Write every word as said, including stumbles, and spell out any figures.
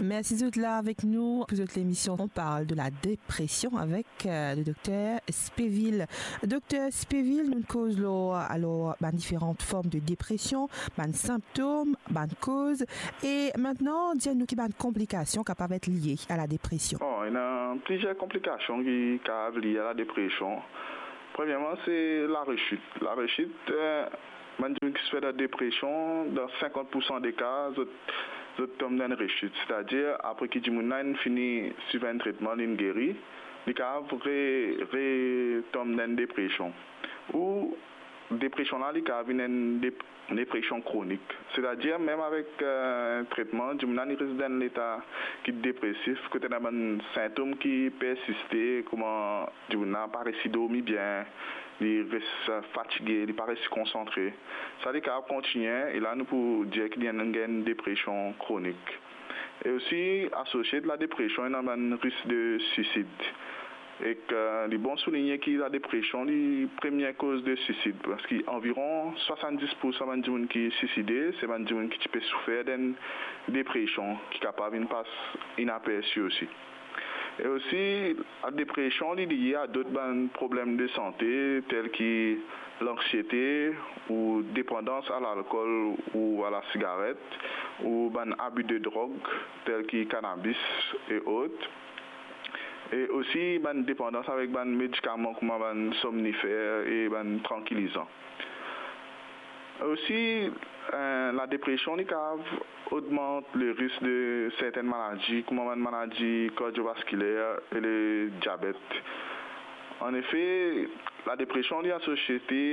Mersi zot la avek nou pou zot lemision On parle de la dépression avek, euh, le dokter Speville. Dokter Speville, nou koz lor, alor, bann diferan form de depresion, bann sinptom, bann koz, e aster dir nou ki bann konplikasion kapav et lie a la depresion. Bon, ena plizier konplikasion ki kapav lie a la depresion. Premierman, se laresit. Laresit, euh, bann dimoun ki soufer de depresion, dan sinkant pou san de ka, zot, zot tom dan enn resit. Setadir, apre ki dimoun la inn fini swiv enn tretman, linn geri, li kapav re, re tom dan enn depresion. Ou depresion la, li kapav vinn enn dep-, depresion kronik. Setadir, mem avek, euh, tretman, dimoun la, li res dan enn leta ki depresif, kot ena bann sintom ki persiste, kouma dimoun la pa resi dormi bien, li res, euh, fatige, li pa resi konsantre. Sa li kapav kontigne, e la nou pou dir ki li ena enn depresion kronik. E osi, asosie la depresion, ena bann risk de sisid. Ek, euh, li bon souligne ki la depresion, li premie koz de sisid, parski anviron swasanndis pou san bann dimoun ki siside, se bann dimoun ki ti pe soufer dan depresion, ki kapav inn pas inapersi osi. E osi, la depresion, li lie a dot bann problem de sante, tel ki lanksiete ou depandans a lalkol ou a lasigaret, ou bann abi de drog, tel ki kanabis e ot. E osi bann depandans avek bann medikaman kouma bann somnifer e bann trankilizan. Osi, euh, la depresion, li kapav ogmant le risk de sertenn maladi, kouma bann maladi kardiovaskiler e le diabet. Anefe, la depresion, li asosie